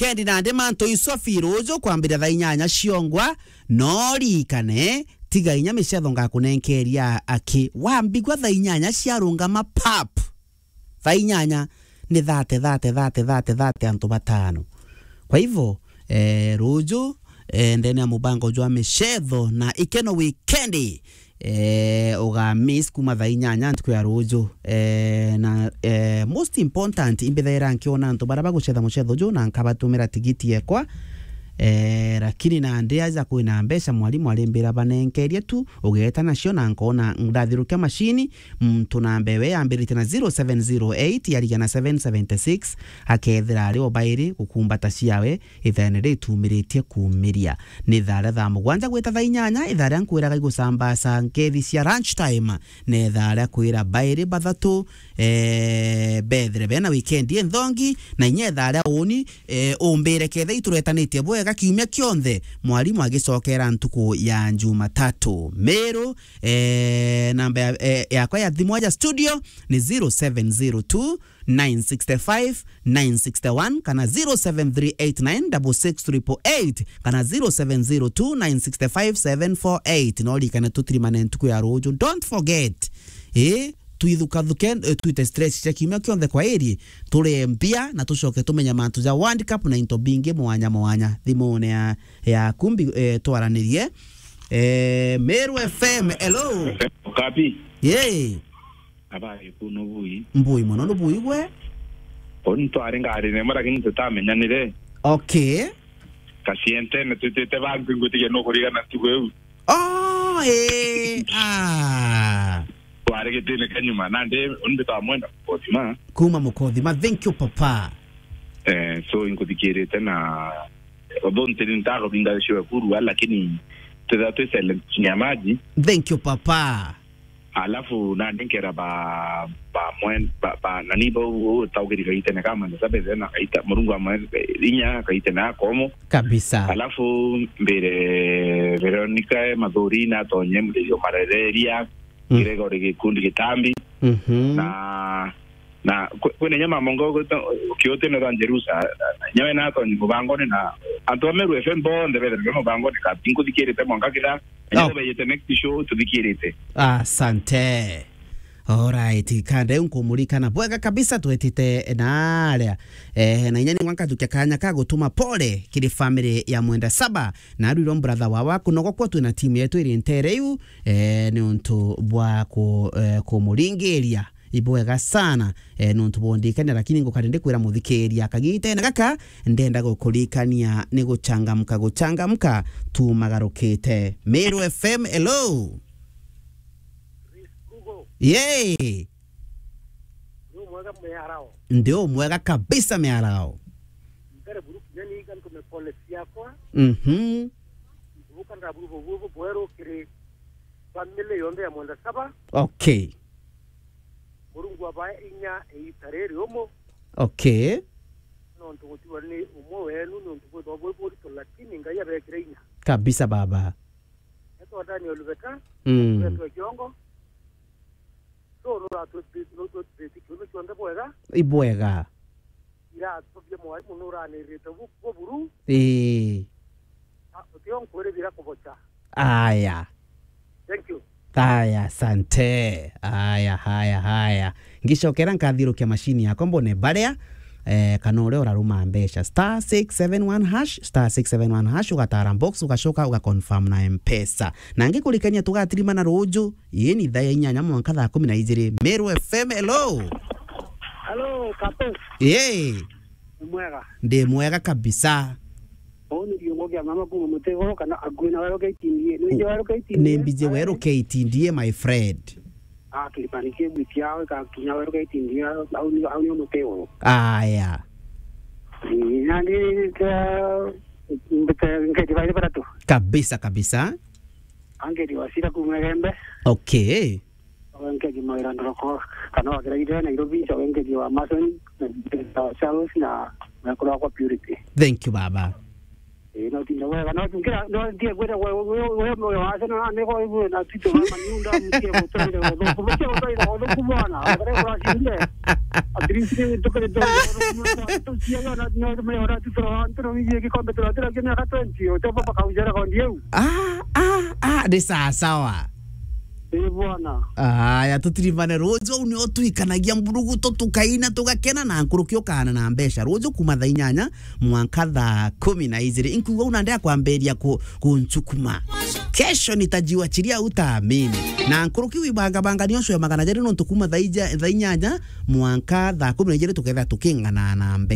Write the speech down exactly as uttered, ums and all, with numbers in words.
weekend nandi mantu iswafi ruju kwambiria thaa inyanya ciongwa, no ririkane, tiga inya micetho ngakunenkeria aki. Wambigua thaa inyanya ciarungama pap, thaa inyanya ni thate, thate, thate, thate, thate antu batano. Kwa hivyo, eh, ruju, eh, ndene ya mubango jwa micetho na ikeno weekend, eh, uga miss kuma thaa inyanya ntuku ya ruju. Eh, na, eh, most important, imbithaira nkiona antu baria bagucetha mucetho ju na nkabatumira tigiti yekwa. Eh, lakini nandi aja kwina mbeca, mwalimu arimbira banenkerie tu, ugeeta nacio na nkona ndathirukia mashini, muntu namba ewe yambiritie na zero seven zero eight yarigia na seven seventy six, akethira ari o bairi gukumbata ciawe, ithaene ritumiritie kumiria. Ni thaa ria thaa mugwanja gwita thaa inyanya, ithaa ria nkwiraga igucambaca nkethi cia lunch time, na ithaa ria kwira bairi bathatu, eh, bethire bena weekend inthongi, na inya ithaa ria uni, eh, umbire ketha ituretanitie bwega kiumia kionthe, mwalimu agicokera ntuku ya Jumatatu. Miru, eh, namba ya, eh, yakwa ya thimu ya studio ni zero seven zero two nine six five nine six one kana zero seven three eight nine six six triple eight kana zero seven zero two nine six five seven four eight. No ririkane tutirimane ntuku ya ruju. Don't forget. Eh, twithukathuke, eh, twite stress cia kiumia kionthe kwa iri, turie mbia na tucoke tumenya mantu ja World Cup na into bingi mwanya mwanya. Thimune ya, yaku mbi-, eh, twaranirie. Eh, Meru F M, hello. Kapi. Yee. Abari ku nubui? Mbui mono, nubui gwe? Oni twari ngari nemwe, lakini tutamenyanire. Okay. Kasientene twitite bantu, ngutigia nukurigana ntuku iu. Oh, eh, ah. Twari gitine ka nyuma, nandi undi twamwenda Mukothima. Kuma Mukothima, thank you, papa. Eh, so inkuthikirite na, although ntiri ntago binga ciwe kurua, lakini twithira twi silent chini ya maji. Thank you, papa. Alafu nandi nkera ba, ba mwen-, ba, ba, nani ba u-, u-, taugiri gaitene ka Mwenda Saba na gaita, Murungu amwe inya gaitene akomo. Kabisa. Alafu mbire Veronica Mathuri na tonye muririo marereria, Mm. Gregory Gikundi Gitambi. Mhm. Na Na kwi-, kwina inya mamongo ukiutine twa Jerusa, na inya we natonyi mubangone na antu a Meru F M bonthe bethirwe mubangone ka, nkuthikirite mwanka kira, inya Oh. Beyite next show tuthikirite. Asante. Alright, kande nkumurikana bwega kabisa twetite na aria. Eh, na inya ni mwanka tukia kanya ka gutuma pole kiri family ya Mwenda Saba, na arwiro brother wawa kunogokwa twina team yetu iri ntere iu, eh, ni untu bwa ku-, eh, kumuringiria. Ibwega sana, eh, nontu bondikania, lakini ngukari ndikwira muthikiria kagitene gaka, ndenda gukurikania ni guchangamka, guchangamka tumagarukite. Meru F M, hello. Yay. Ndi umwega kabisa miarao. Mbere buru kinya ni iga ntume pole ciakwa. Mhm. Mbuka ndaburu bubu bweru kiri family yonthe ya Mwenda Saba. Okay. Murungu abae inya iita riri umu. Okay. Nontu gutiwa ni umwe wenu, nontu bwithwa bwi burito, lakini Ngai abekire inya. Kabisa, baba. Etwa Daniel Beta, Mm. etwa Kiongo. So, nuratwithitie, nutwithitie kiume kionthe bwega. Ibwega. Iratobia mwarimu nuranirite bu-, buburu. Ii. Ah, utio nkwiribira kubocha. Aya. Thank you. Aya, asante. Aya, haya, haya. Ngicokera nkathiurukia mashini yakwa mbone baria, eh, kana uria uraruma mbeca. Star six seven one hash, star six seven one hash, ugatara box, ugacoka ugaconfirm na M-Pesa. Na ngikurikania tugatirimana ruju, ii ni thaa ya inyanya mwanka thaa kumi na ijiri. Meru F M, hello. Hello, Kato. Yee. Ni mwega? Ndi mwega kabisa. Uu ni Riungu kia mama kuma Mutiguru kana akui na weru K T D A. Ni wiji weru K T D A? Ni mbiji weru K T D A, my friend. Ah, Kilimani kia wiki yao ikakinya weru K T D A, au ni, au ni Mutiguru. Aya. Ni, na ni, ka, mbete, nketi baile baratu. Kabisa, kabisa. Angeti wasira kuma Gembe. Okay. Wengegi mawira ndoroko, kana wakira ire Nairobi, nca wengegi wa Mason, na wa Charles, na mwekuru wakwa Purity. Thank you, baba. Ii, no tinda Wega, no tukia, no ntie kwenda we, we, we, we, we, wa Arsenal, na nego ibu na Tito, na Maniunda, mtie gutwira uthuku, mtie gutwira uthuku bwana. Akare kuracinde. At least ni tukire tu, tuciaga na, no, me ora tu, turo, turo, ni gikombe, turo, turo, kina ka twenty, o, topa paka ujara kwa ndiu. Ah, ah, ah, ni sawa sawa. Ii bwana. Aya, tutirimane ruju, au nio twikanagia mburugutu, tukaina, tugakena, na nkuruki ukaana na mbeca. Ruju kuma thaa inyanya mwanka thaa kumi na ijiri. Inkuigua una ndea kwambiria ku-, kuncukuma. Kesho nitajiachilia, utaamini. Na nkuruki wibangabanga nio cwe magana jeri nontu kuma thaa ija-, thaa inyanya mwanka thaa kumi na ijiri tuketha tukingana na mbeca.